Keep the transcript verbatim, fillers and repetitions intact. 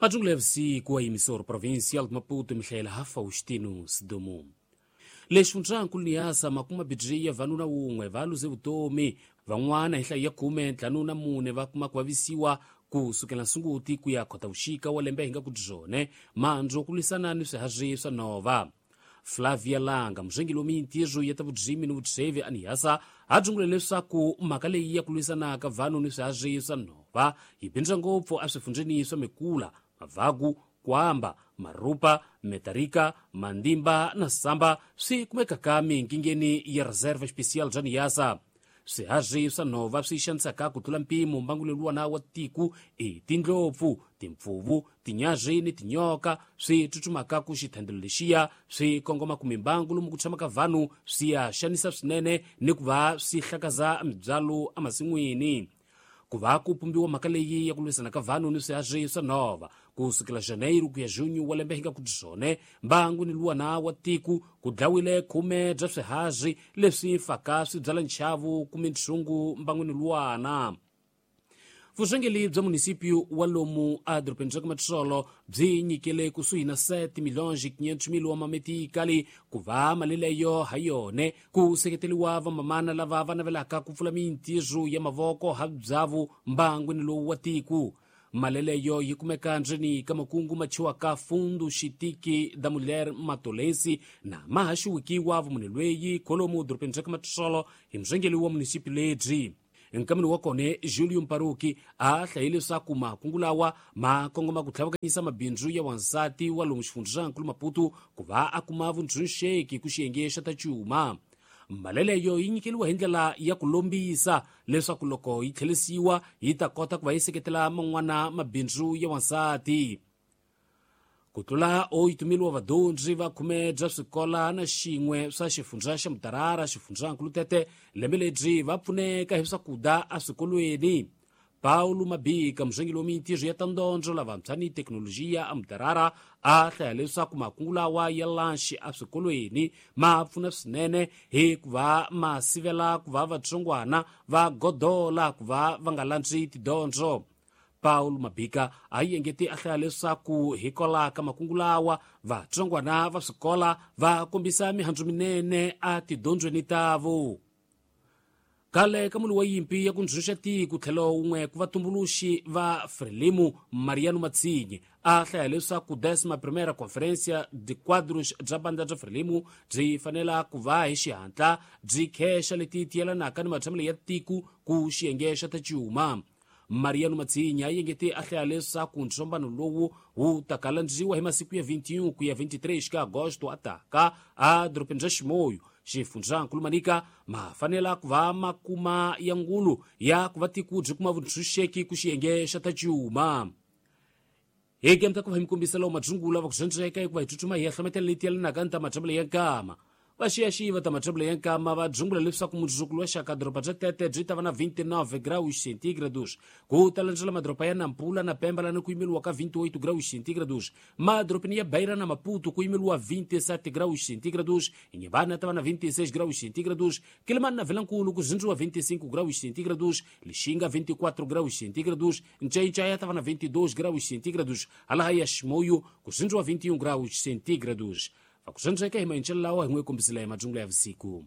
Majungula ya vusiku a emissora provincial de Maputo mihlayela ha Faustino Sidumo. Lexi Niassa makuma bidriya vanuna wun'we va luze vutomi van'wana hi nhlayo ya khume ntlhanu na mune va kuma ku vavisiwa ku sukela Sunguti ku ya Khotavuxika wa lembe hi nga ku byone mandzu ku lwisana ni swiharhi swa nhova. Flavia Langa murhengeri wa mintirho ya ta vurimi ni vutsheve a Niassa a dzungule leswaku mhaka leyi ya ku lwisana ka vanhu ni swiharhi swa nhova yi bindza ngopfu eswifundzheni swa Mekula, Mavagu, Kwamba, Marupa, Metarika, Mandimba na Samba swi kumekaka minkingeni ya Reserva Especial bya Niassa. Swiharhi swa nhova swi xanisaka ku tlula mpimo mbangu lowuwana wa tiko i tindlopfu, timpfuvu, tinyarhi ni tinyoka swi tsutsumaka ku xithandelo lexiya swi kongoma ku mimbangu lomu ku tshamaka vanhu swi ya xanisa swinene ni ku va swi hlakaza mibyalo emasin'wini. Ku va ku pumbiwa mhaka leyi ya ku lwisana ka vanhu ni swiharhi swa nhova ku sukela Janeiro ku ya Junho wa lembe hi nga ku byone mbangu ni luwana wa tiko ku dlawile khume bya swiharhi leswi faka swi byala nchavu ku mintshungu mbangwini luwana. Vurhangeri bya munisipio wa lomu edorobeni ra ka Matsolo byi nyikele kusuhi na sete milhões e quinhentos mil wa mametikali ku va mali leyo ha yone ku seketeriwa vamamana lava va navelaka ku pfula mintirho ya mavoko ha byavu mbangwini lowu wa tiko. Mali leyo yi kumeka ndzeni ka makungu machiwaka Fundo Xitiki da Mulher Matolense na mahaxiwikiwa vumunhu lweyi kholomu dorobeni ra ka Matsolo hi murhangeri wa munisipio lebyi. Nkameni wa kone Julio Mparuki a hlaye leswaku makungu lawa ma kongoma ku tlhavakanyisa mabindzu ya wansati wa lomu xifundzankulu Maputo ku va a kuma vuntshunxeki ku xiyenge xa ta cuma. Mali leyo yi nyikeriwa hi ndlela ya ku lombisa leswaku loko yi tlherisiwa yi ta kota ku va yi seketela man'wana mabindzu ya wansati. Ku tlula oito mil wa vadyondzi va khume bya swikola na xin'we swa xifundza xa Mutarara xifundzankulu Tete lembe lebyi va pfuneka hi swakudya eswikolweni. Paulo Mabika murhangeri wa mintirho ya ta ndondzo lavantshwa ni thekinolojiya eMutarara a hlaya leswaku makungu lawa ya lanxi eswikolweni ma pfuna swinene hikuva ma sivela ku va vatsongwana va godola ku va va nga landzi tidyondzo. Paulo Mabika a yengete a hlaya leswaku hikwalaho ka makungu lawa vatsongwana va swikola va kombisa mihandzu minene a tidyondzweni tavo. Khale ka munhu wa yimpi ya ku ntshunxa tiko tlhelo wun'we ku vatumbuluxi va Frelimo Mariano Matsinhe a hlaya leswaku décima primeira Conferência de Quadros bya bandla bya Frelimo byi fanela ku va hi xihatla byi khexa leti tiyelanaka ni matshamelo ya tiko ku xiyenge xa ta cuma. Mariano Matsinhe a yengete a hlaya leswaku ntsombano lowu wu ta kalandziwa hi masiku ya vinte e um ku ya vinte e três ka agosto ataka a dorobeni ra Ximoyo xifundzankulu Manica ma fanela ku va makuma ya ngulu ya ku va tiko byi kuma vuntshunxeki ku xiyenge xa ta cuma. Hi kemta ku va hi mi kombisa lawo madzungula va ku zhendzeka hikuva hi tsutsuma hi ya hlometela leti yelanaka ni ta matshamelo ya nkama. Vaxiyaxiva ta matshamelo ya nkama va dzungula leswaku mundzuku wa xaka doroba bya Tete byi ta va na vinte e nove graus centígrados ku ta landzela madoroba ya Nampula na Pemba lani ku yimeriwa ka vinte e oito graus centígrados, madorobeni ya Beira na Maputo ku yimeriwa vinte e sete graus centígrados, Inhambane ta va na vinte e seis graus centígrados, Quelimane na Vilankulu ku zindziwa vinte e cinco graus centígrados, Lixinga vinte e quatro graus centígrados, Nchainchaia ta va na vinte e dois graus centígrados, Alaha Ximoio ku zindziwa vinte e um graus centígrados. Vakusendzeka hi maenxelo lawa hi n'we kombisile hi madzungula ya vusiku.